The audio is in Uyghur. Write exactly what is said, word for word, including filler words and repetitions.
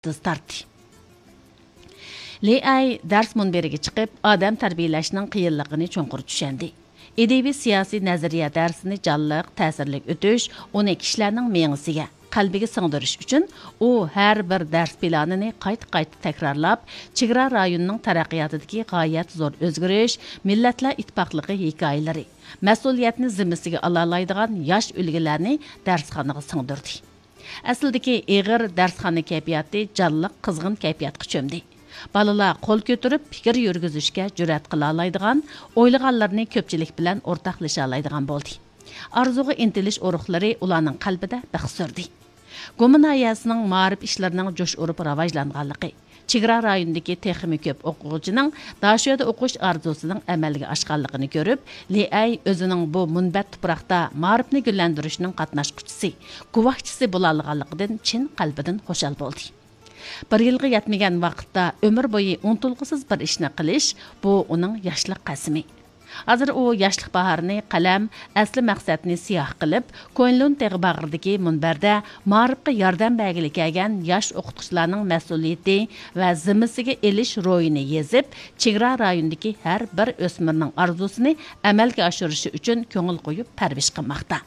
تىز تارتتى. لى ئەي دەرس مۇنبىرىگە چىقىپ، ئادەم تەربىيەلەشنىڭ قىيىنلىقىنى چوڭقۇر چۈشەندى. ئىدىيىۋى سىياسىي نەزەرىيە دەرسىنى جانلىق، تەسىرلىك ئۆتۈش، ئۇنى كىشىلەرنىڭ مېڭىسىگە، قەلبىگە سىڭدۈرۈش ئۈچۈن ئۇ ھەر بىر دەرس پىلانىنى قايتا-قايتا تەكرارلاپ، چېگرا رايونىنىڭ تەرەققىياتىدىكى غايەت زور ئۆزگىرىش، مىللەتلەر ئىتتىپاقلىقى ھېكايىلىرى، مەسئۇلىيەتنى زىممىسىگە ئالالايدىغان ياش ئۈلگىلەرنى دەرسخانىغا سىڭدۈردى. ئەسلىدىكى ئېغىر دەرسخانا كەيپىياتى جانلىق، قىزغىن كەيپىياتقا چۆمدى. بالىلار قول كۆتۈرۈپ پىكىر يۈرگۈزۈشكە جۈرئەت قىلالايدىغان، ئويلىغانلىرىنى كۆپچىلىك بىلەن ئورتاقلىشالايدىغان بولدى. ئارزۇغا ئىنتىلىش ئۇرۇقلىرى ئۇلارنىڭ قەلبىدە بىخ سۈردى. گۇما ناھىيەسىنىڭ مائارىپ ئىشلىرىنىڭ جوش ئۇرۇپ راۋاجلانغانلىقى، چېگرا رايونىدىكى تېخىمۇ كۆپ ئوقۇغۇچىنىڭ داشۆدە ئوقۇش ئارزۇسىنىڭ ئەمەلگە ئاشقانلىقىنى كۆرۈپ، لى ئەي ئۆزىنىڭ بۇ مۇنبەت تۇپراقتا مائارىپنى گۈللەندۈرۈشنىڭ قاتناشقۇچىسى، گۇۋاھچىسى بولالىغانلىقىدىن چىن قەلبىدىن خۇشال بولدى. بىر يىلغا يەتمىگەن ۋاقىتتا ئۆمۈر بويى ئۇنتۇلغۇسىز بىر ئىشنى قىلىش، بۇ ئۇنىڭ ياشلىق قەسىمى. ھازىر ئۇ ياشلىق باھارىنى قەلەم، ئەسلى مەقسەتنى سىياھ قىلىپ، كۇنلۇن تېغى باغرىدىكى مۇنبەردە مائارىپقا ياردەم بەرگىلى كەلگەن ياش ئوقۇتقۇچىلارنىڭ مەسئۇلىيىتى ۋە زىممىسىگە ئېلىش روھىنى يېزىپ، چېگرا رايونىدىكى ھەر بىر ئۆسمۈرنىڭ ئارزۇسىنى ئەمەلگە ئاشۇرۇشى ئۈچۈن كۆڭۈل قويۇپ پەرۋىش قىلماقتا.